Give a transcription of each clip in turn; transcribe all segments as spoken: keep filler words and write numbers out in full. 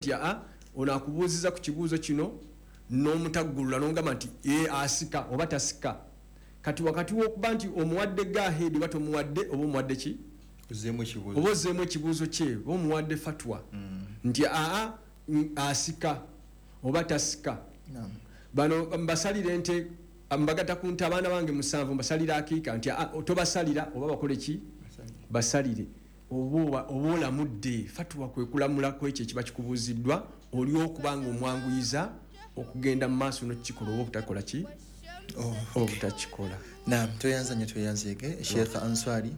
Nti aa, ono akubuuziza ku kibuuzo kino n'omutaggulula n'ogamba nti e asika oba tasika. Kati wakati w'okuba nti omuwadde go ahead oba tomuwadde, oba omuwadde ki, ozeemu ekibuuzo, oba ozzeemu ekibuuzo kye, oba omuwadde fatwa nti aa, mm, asika oba tasika. Naam. Bano mbasalira ente, mbagatta ku nte, abaana bange musanvu, mbasalira akiika, nti aa, tobasalira oba bakole ki, basalire, oba oba olamudde. Fatuwa kwe kulamula ku ekyo ekiba kikubuuziddwa, oli okuba nga omwanguyiza okugenda mu maaso n'okukikola oba obutakola ki, Oh, obutakikola. Naam, tweyanza nnyo, tweyanzeege Sheikh Answari.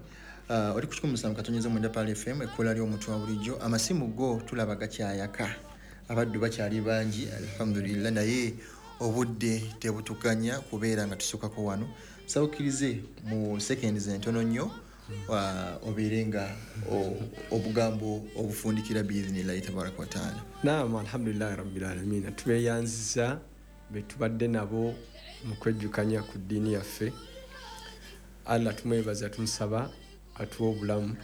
uh, oli ku kikumi musanvu katonyeza mwenda Pearl F M, ekkola ly'omuntu wa bulijjo. Amasimu go tulaba gakyayaka, abaddu bakyali bangi, alhamdulillah, naye obudde tebutuganya kubeera nga tusukako wano. Saba okkirize mu seconds entono nnyo, uh, obeere nga o- obugambo obufundikira biidhinillahi tabaraka wataala. Naam, alhamdulillahi rabbil alamin. Tubeeyanziza be tubadde nabo mu kwejjukanya ku ddiini yaffe. Allah tumwebaza, tumusaba atuwe obulamu,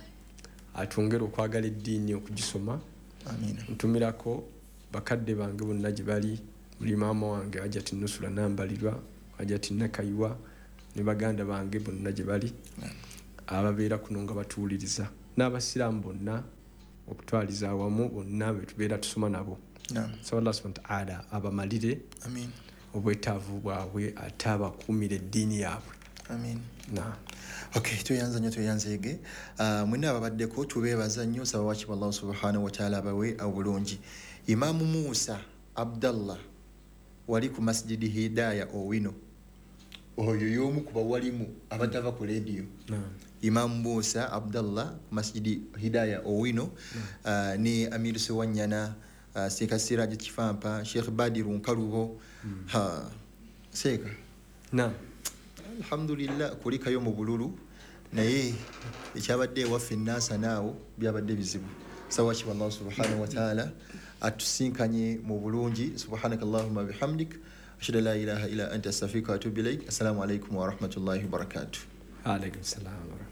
atwongere okwagala eddiini, okugisoma. Amiina. Ntumirako bakadde bange bonna gye bali, muli maama wange Hajati Nusula Nambalirwa, Hajati Nakayiwa, ne baganda bange bonna gye bali ababeera kuno nga batuwuliriza, n'abasiraamu bonna okutwaliza awamu, bonna be tubeera tusoma nabo. Naam. Saba Allah subhana wataala abamalire Amiin. obwetaavu bwabwe, ate abakuumire eddiini yaabwe. Amiin. Na. Okay, tweyanza nnyo, tweyanzeege. uh, mwenna ababaddeko tubeebaza nnyo. Saba wakibwa Allahu subhanahu wataala abawe obulungi. Imaamu Musa Abdallah wali ku Masjidi Hidaya Owino, oyo y'omu ku bawalimu abatava ku lediyo. Naam. Imaamu Musa Abdallah ku Masjidi Hidaya Owino, uh, ne Amiru Sewanyana, uh, Seeka Siraji Kifampa, Sheikh Badiru Nkalubo. Ha, seeka. Naam. Alhamdulillah, kulikayo mu bululu, naye ekyabadde ewaffe enaasa naawo byabadde bizibu. Sawakiba Allahu subhanahu wataala atusinkanye mu bulungi. Subhanaka allahumma bihamdik, ashhadu an la ilaha illa anta, astaghfiruka wa atubu ilaik. Assalamu alaikum warahmatullahi wabarakatuh. Alaikum salam warahmatullahi.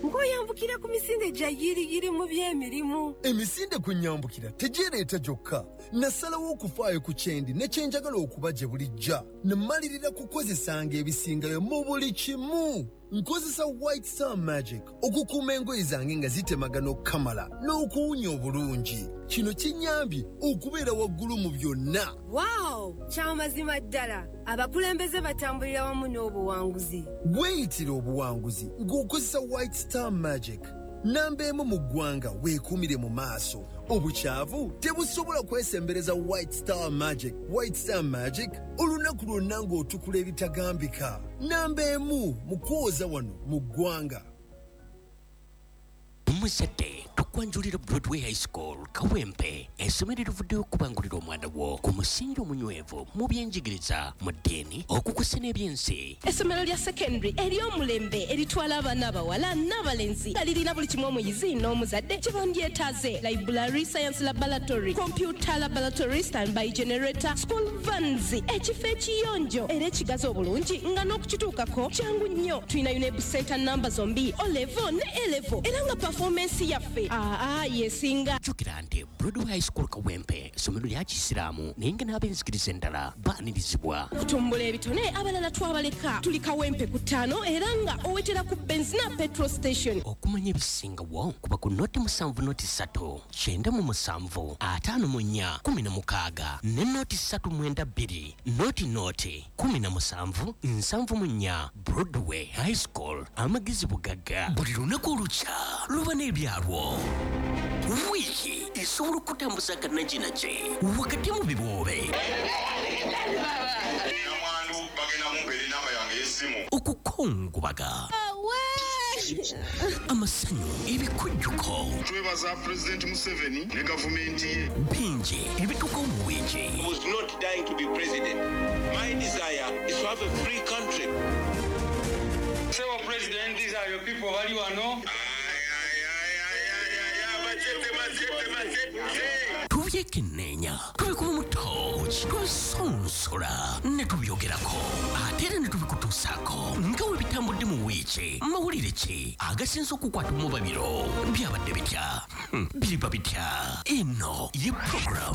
Ng'oyambukira ku misinde gya yiriyiri mu by'emirimu. Emisinde kwe nyambukira tegyereeta gyokka. Nasalawo okufaayo ku kyendi ne kyenjagala okuba gye bulijja, ne mmalirira kukozesanga ebisingayo mu buli kimu. Nkozesa White Star Magic okukuuma engoye zange nga zitemagana okukamala n'okuwunya obulungi. Kino kinnyambye okubeera waggulu mu byonna. Waawo, kyamazima ddala, abakulembeze batambulira wamu n'obuwanguzi. Weeyitira obuwanguzi ng'okozesa White Star Magic, namba emu mu ggwanga. Weekuumire mu maaso, obukyavu tebusobola kwesembereza White Star Magic. White Star Magic, olunaku lwonna ng'otukula ebitagambika. Namba emu mu kwoza wano mu ggwanga. Omuzadde, tukwanjulira Broadway High School Kawempe, essomero erivuddeyo okubangulira omwana wo ku musingi omunywevu mu byenjigiriza, mu ddiini, okukusa n'ebyensi. Essomero lya secondary ery'omulembe eritwala abaana abawala n'abalenzi, nga lirina buli kimu omuyizi n'omuzadde kye bandyetaaze: library, science laboratory, computer laboratory, standby generator, school vans, ekifo ekiyonjo era ekigazi obulungi nga n'okukituukako kyangu nnyo. Tulina U NEB center namba zombi, O level ne A level, era nga performance yaffe aa yesinga. Jjukira nti Broadway High School Kawempe essomero lya kisiraamu, naye nga n'ab'enzikiriza endala baanirizibwa. Okutumbula ebitone, abalala twabaleka. Tuli Kawempe ku ttaano, era nga owetera ku Benzina petrol station. Okumanya ebisingawo, kuba ku noti musanvu noti ssatu kyenda mu musanvu ataano mu nnya kumi na mukaaga ne noti ssatu mwenda bbiri noti noti kumi na musanvu nsanvu mu nnya. Broadway High School, amagezi bugagga. Buli lunaku olukya luba n'ebyalwo. Wiiki esobola okutambuza akanajinaki wakati mu biboobe. Namwandu bagenda mumpeera enamba yange y'essimu. Okukungubaga, amasanyu, ebikujjuko. Twebaza Pulezidenti Museveni ne gavumenti ye. Bingi ebituukawo mu wiiki. Was not dying to be president. My desire is to have a free country. Sebo President, these are your people bali wano. Ay, ay, ay, ay, ay, ay, ay, machete, machete, machete. Tubyekenneenya, tubikuba mu tooki, tubisonsola ne tubyogerako, ate era ne tubikutuusaako nga we bitambudde mu wiiki. Mawulire ki agasinze okukwata omubabiro? Byabadde bitya? Hmm, biriba bitya? Eno ye program.